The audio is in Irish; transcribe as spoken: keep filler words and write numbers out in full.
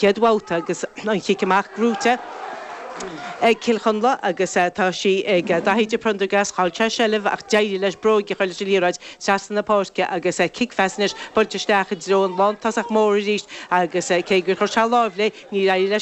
chéad bhabhta agus an chic amach gnóthaithe ag Cill Chonla agus tá sí ag Daithí de Prendergast chaill sé seilbh ach d'éirigh leis bróg a chur leis an liathróid trasna na páirce agus cicfheas anois buailte isteach i dtreo an lántosach mór arís agus cé gur chuir sé lámh léi níor éirigh leis